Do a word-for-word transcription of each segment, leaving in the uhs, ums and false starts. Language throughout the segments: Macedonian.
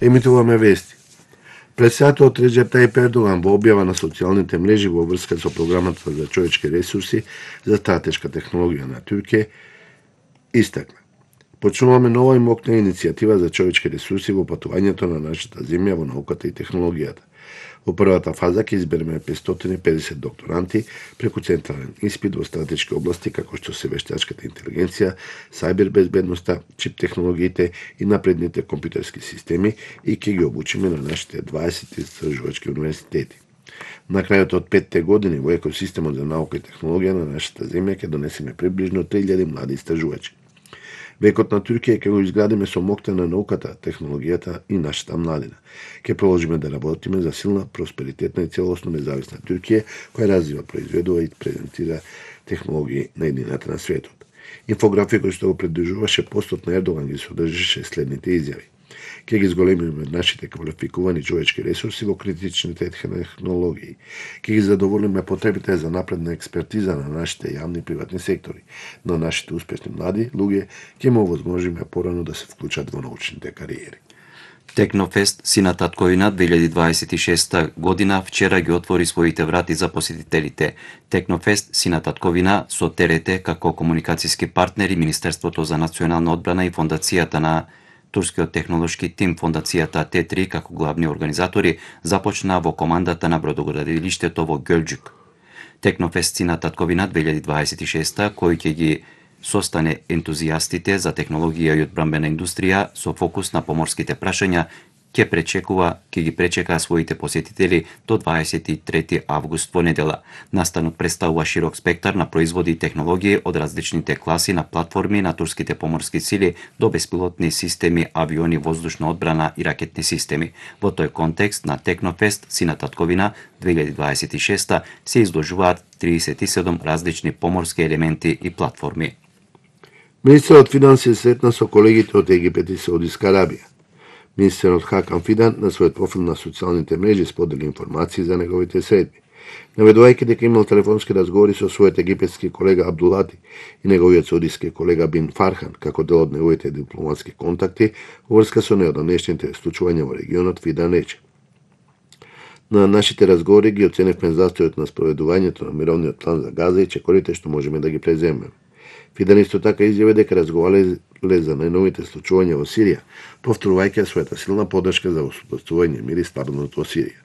Емитуваме вести. Председателот Реџеп Тајип Ердоган во објава на социјалните мрежи во врска со програмата за човечки ресурси за стратешка технологија на Туркија истакна: почнуваме нова и мокна иницијатива за човечки ресурси во патувањето на нашата земја во науката и технологијата. Во првата фаза ќе избереме петстотини и педесет докторанти преку централен испит во стратешки области како што се вештачката интелигенција, сајбер безбедноста, чип технологиите и напредните компјутерски системи и ќе ги обучиме на нашите дваесет истражувачки универзитети. На крајот од петте години во екосистемот за наука и технологија на нашата земја ќе донесеме приближно три илјади млади истражувачи. Векот на Туркија ќе го изградиме со моќта на науката, технологијата и нашата младина. Ќе продолжиме да работиме за силна, просперитетна и целосно независна Туркија, која развива, произведува и презентира технологии на едината на светот. Инфографикот што го придружуваше постот на Ердоган ги содржеше следните изјави: ќе ги зголемиме нашите квалификувани човечки ресурси во критичните технологии. Ќе ги задоволиме потребите за напредна експертиза на нашите јавни и приватни сектори. На нашите успешни млади луѓе ќе му овозможиме порано да се вклучат во научните кариери. Технофест Сина татковина две илјади дваесет и шеста година вчера ги отвори своите врати за посетителите. Технофест Сина татковина со ТРТ како комуникацијски партнери, Министерството за национална одбрана и фондацијата на турскиот технолошки тим, фондацијата Т три како главни организатори, започна во командата на бродоградилиштето во Ѓелџук. Технофест Сина татковина две илјади дваесет и шеста, кој ќе ги состане ентузијастите за технологија и одбрамбена индустрија со фокус на поморските прашања, ќе пречекува, ќе ги пречека своите посетители до дваесет и трети август во недела. Настанот представува широк спектар на производи и технологии од различните класи на платформи на турските поморски сили до беспилотни системи, авиони, воздушна одбрана и ракетни системи. Во тој контекст на Технофест Сина татковина две илјади дваесет и шеста се изложуваат триесет и седум различни поморски елементи и платформи. Министерот финансија сретна со колегите од Египет и Саудиска Арабија. Министерот Хакан Фидан на својот профил на социјалните мрежи сподели информации за неговите средби, наведувајќи дека имал телефонски разговори со својот египетски колега Абдулати и неговиот саудиски колега Бин Фархан, како дел од неговите дипломатски контакти во врска со неодамнешните случувања во регионот. Фидан рече: на нашите разговори ги оценевме застојот на спроведувањето на мировниот план за Газа и чекорите што можеме да ги преземеме. Фидан исто така изјави дека разговарале за најновите случувања во Сирија, повторувајќи својата силна поддршка за воспоставување мир и стабилност во Сирија.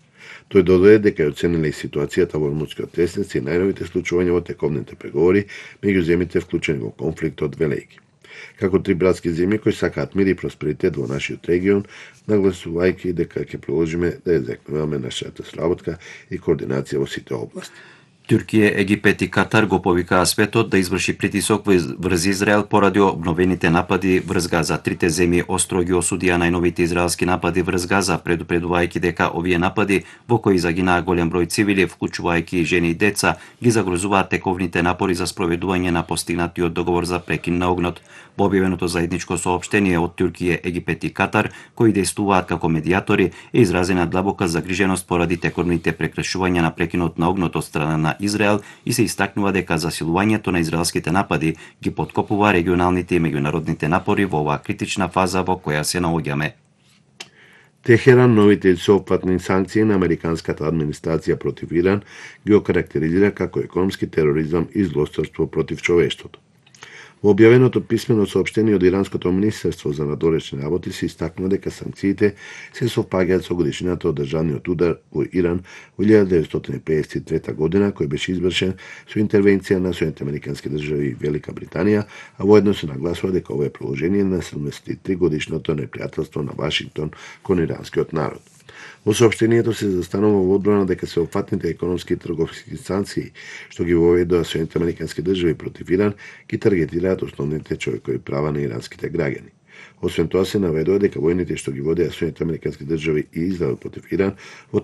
Тој додаде дека ја оцениле и ситуацијата во Ормудскиот тесница и најновите случувања во тековните преговори меѓу земјите вклучени во конфликтот, велејќи: како три братски земји кои сакаат мир и просперитет во нашиот регион, нагласувајќи дека ќе продолжиме да ја закнуваме нашата сработка и координација во сите области. Туркија, Египет и Катар го повикаа светот да изврши притисок врз Израел поради обновените напади врз Газа. Трите земји остро ги осудија најновите израелски напади врз Газа, предупредувајќи дека овие напади, во кои загинаа голем број цивили, вклучувајќи жени и деца, ги загрозуваат тековните напори за спроведување на постигнатиот договор за прекин на огнот. Во објавеното заедничко соопштение од Туркија, Египет и Катар, кои действуваат како медијатори, е изразена длабока загриженост поради текорните прекршувања на прекинот на огнот од страна на Израел и се истакнува дека засилувањето на израелските напади ги поткопува регионалните и меѓународните напори во оваа критична фаза во која се наоѓаме. Техеран новите сеопфатни санкции на американската администрација против Иран ги окарактеризира како економски тероризам и злосторство против човештвото. Во објавеното писмено соопштение од Иранското министерство за надворешни работи се истакнува дека санкциите се совпаѓаат со годишнината од државниот удар во Иран во илјада деветстотини педесет и трета година, кој беше извршен со интервенција на Соединетите американски држави и Велика Британија, а воедно се нагласува дека ова е продолжение на седумдесет и три годишното непријателство на Вашингтон кон иранскиот народ. Во соопштението се застанува во одбрана дека сеопфатните економски и трговски санкции што ги воведоа Соединетите американски држави против Иран ги таргетираат основните човекови права на иранските граѓани. Освен тоа се наведува дека војните што ги водеа Соединетите американски држави и Израел против Иран во